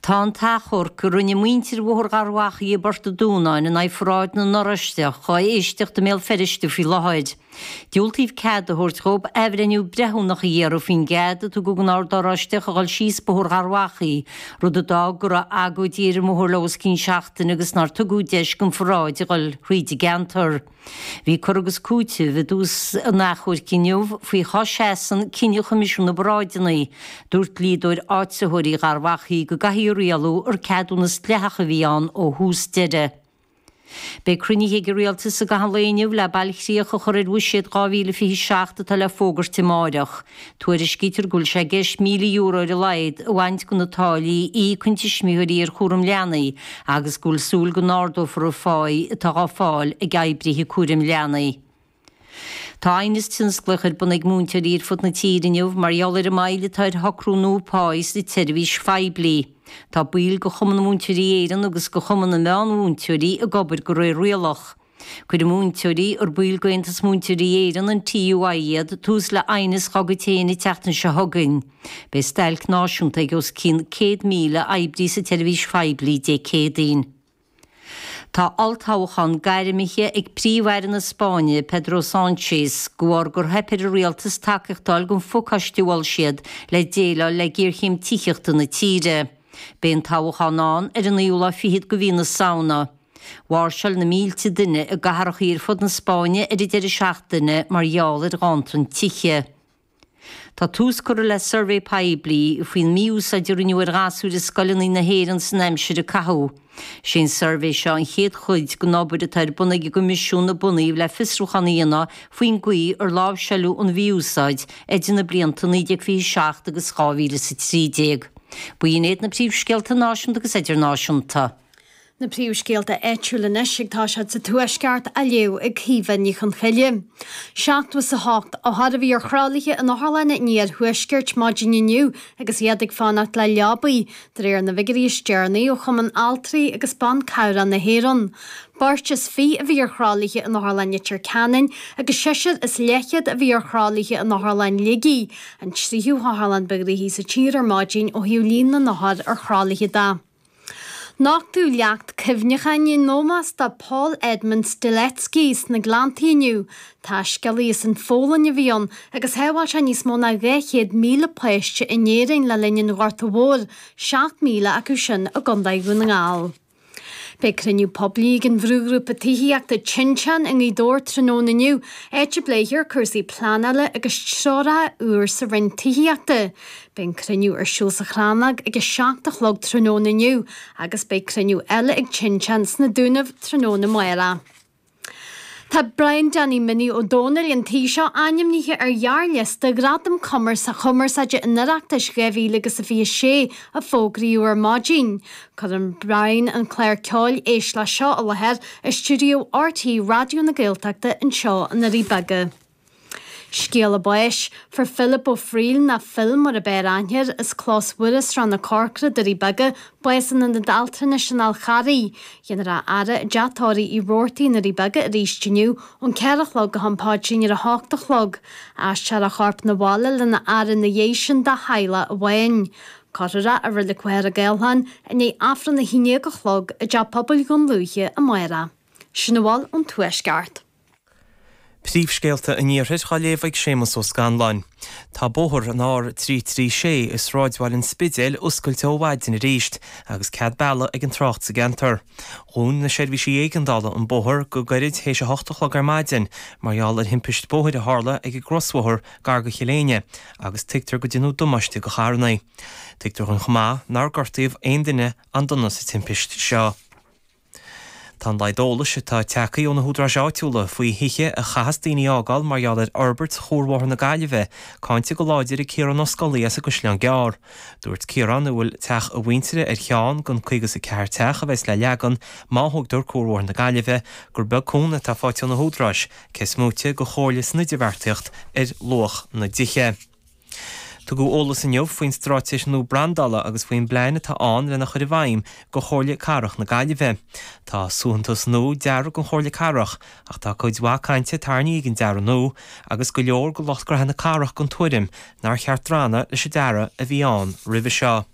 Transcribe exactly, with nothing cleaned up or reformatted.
Tá an t-achomharc a rinne muintir Bhóthar Gharbhachaidh i bPort an Dúnáin in aghaidh pharáid na nOráisteach á éisteacht i mBéal Feirste faoi láthair. Diúltaíodh cead a thabhairt dhóibh athbhreithniú breithiúnach a iarraidh faoin gcead a tugadh don Ord Oráisteach a dhul síos Bóthar Gharbhachaidh, rud a d'fhág go raibh agóidí ar an mbóthar le os cionn seachtaine agus nár tugadh deis don pharáid a dhul thríd an gceantar. Bhí cur agus cúiteamh i dtús an achomhairc inniu faoi cá seasann cinneadh Choimisiún na bParáideanna. Dúirt dlíodóir áitritheoirí Gharbhachaidh go gcaithfí a rialú gur ceadúnas dleathach a bhí ann ó thús deireadh. Beidh cruinnithe ag an rialtas i gcaitheamh an lae inniu le bailchríoch a chur ar bhuiséad dhá mhíle fiche seacht atá le fógairt amáireach. Tuairiscítear go bhfuil sé i gceist míle euro ar a laghad a bhaint de na táillí a íocann tuismitheoirí ar chúram leanaí agus go bhfuil súil go n-ardófar an pháí atá á fáil ag oibrithe cúraim leanaí. Tá aighneas tionsclaíoch ar bun ag múinteoirí ar fud na tíre inniu mar gheall ar an moill atá ar shocrú nua páí sa tseirbhís phoiblí. Tá baill de Chumann Múinteoirí Éireann agus de Chumann na Meánmhúinteoirí ag obair de réir rialach. Cuirfidh múinteoirí ar baill d'Aontas Múinteoirí Éireann, an T U I iad, tús le aighneas dá gcuid féin an tseachtain seo chugainn. Beidh stailc náisiúnta ag os cionn céad míle oibrí sa tseirbhís phoiblí Dé Céadaoin. Tá olltoghchán gairmithe ag Príomh-Aire na Spáinne, Pedro Sánchez, de bharr gur theip ar an rialtas tacaíocht a fháil don phacáiste a mhol siad le déileáil le géarchéim tithíochta na tíre. Beidh an toghchán ann ar an naoú lá fichead de mhí na Samhna. Mháirseáil na mílte duine i gcathracha ar fud na Spáinne ar an deireadh seachtaine mar gheall ar ghanntan tithe. Tá tús curtha le suirbhé poiblí faoin mí-úsáid a rinneadh ar ghasúir i scoileanna na hÉireann san aimsir a caitheadh. Sé an suirbhé seo an chéad chuid den obair atá ar bun ag an gCoimisiún a bunaíodh le fiosrúchán a dhéanamh faoin gcaoi ar láimhseáladh an mhí-úsáid idir na blianta naoi déag fiche seacht agus dhá mhíle is a trí déag. B'in iad na príomhscéalta náisiúnta agus idirnáisiúnta. Na príomhscéalta áitiúla anois ag toiseacht sa Tuaisceart á léamh ag Caoimhe Ní Chonchoille. Seachtó is a hocht othar a bhí ar thralaithe in otharlanna an iarthuaiscirt maidin inniu agus iad ag fanacht le leabaí, de réir na bhfigiúirí is deireanaí ó Chumann Altraí agus Ban Cabhrach na hÉireann. Beirt is fiche a bhí ar thralaithe in Otharlann Leitir Ceanainn agus seisear is leathchéad a bhí ar thralaithe in Otharlann Shligigh, an tríú hotharlann ba ghnoithí sa tír ar maidin ó thaobh líon na n-othar ar thralaithe de. Nochtadh leacht cuimhneacháin in ómós do Paul Edmund Strzelecki sna Gleanntaí inniu. Taiscéalaí as an Pholainn a bhí ann agus shábháil sé níos mó ná dhá chéad míle páiste in Éirinn le linn an Ghorta Mhóir, seacht míle acu sin i gContae Dhún na nGall. Beidh cruinniú poiblí ag an bhrúghrúpa tithíochta Tinteán i nGaoth Dobhair tráthnóna inniu, áit a bpléifear cúrsaí pleanála agus treoracha úr sa Roinn Tithíochta. Beidh an cruinniú ar siúl sa Chrannóg ag a seacht a chlog tráthnóna inniu agus beidh cruinniú eile ag Tinteán sna Dúnaibh tráthnóna amárach. Tá Brian Danny Minnie Ó Dónaill an tí seo ainmnithe ar ghearrliosta Ghradam Cumarsáide an Oireachtais dhá mhíle agus a fiche sé a fógraíodh ar maidin. Cuireann Brian an clár ceoil Éist Leis Seo i láthair i stiúideo R T Raidió na Gaeltachta anseo i nDoirí Beaga. Scéala báis, Fuair Philip Ó Frighil nó Phil mar ab fhearr aithne air as Clós Mhuire, Srath na Corcra, Doirí Beaga, bás in Ionad Altranais an Fháil Charraigh. Dhéanfar é a fhaire i dteach tórraimh Uí Robhartaigh i nDoirí Beaga arís inniu ón ceathair a chlog go ham paidrín ar a hocht a chlog. Aistreofar a chorp 'na bhaile lena fhaire ina dhiaidh sin dá theaghlach amháin. Cuirfear é i Reilig Mhachaire Gathlán i ndiaidh Aifreann a haon déag a chlog i dTeach Pobail Dhún Lúiche amárach. Sin a bhfuil ón Tuaisceart. Príomhscéalta an Iarthair á léamh ag Séamus Ó Scanláin. Tá bóthar an R trí trí sé i sráidbhaile an Spidéil oscailte ó mhaidin arís agus cead bealaigh ag an trácht sa gceantar. Dhún na seirbhísí éigeandála an bóthar go gairid théis a hocht a chlog ar maidin mar gheall ar thimpiste bóthair a tharla ag an gcrosbhóthar gar go Chill Éinne agus tuigtear go ndeineadh damáiste do charranna. Tuigtear chomh maith nár gortaíodh aon duine an-dona sa timpiste seo. Tá an laghad eolais atá tagtha ó na húdaráis áitiúla faoi thithe a chaithfeas daoine a fhágáil mar gheall ar fhorbairt Chuarbhóthar na Gaillimhe, cáinte go láidir ag Ciarán Ó Scolaí as an gCaisleán Gearr. Dúirt Ciarán a bhfuil teach a mhuintire ar cheann den caoga is a ceathair teach a bheas le leagan má thógtar Cuarbhóthar na Gaillimhe gur beag cúnamh atá faighte ó na húdaráis, cé is móite de chomhairle san idirbheartaíocht ar luach na dtithe. Tugadh eolas inniu faoin straitéis nua brandála agus faoin bplean atá ann lena chur i bhfeidhm do Chomhairle Cathrach na Gaillimhe. Tá suaitheantas nua deartha don Chomhairle Cathrach ach tá cuid mhaith cainte tarraingthe ag an dearadh nua agus go leor de lucht gnaithe na cathrach den tuairim nár cheart drannadh leis an dearadh a bhí ann roimhe seo.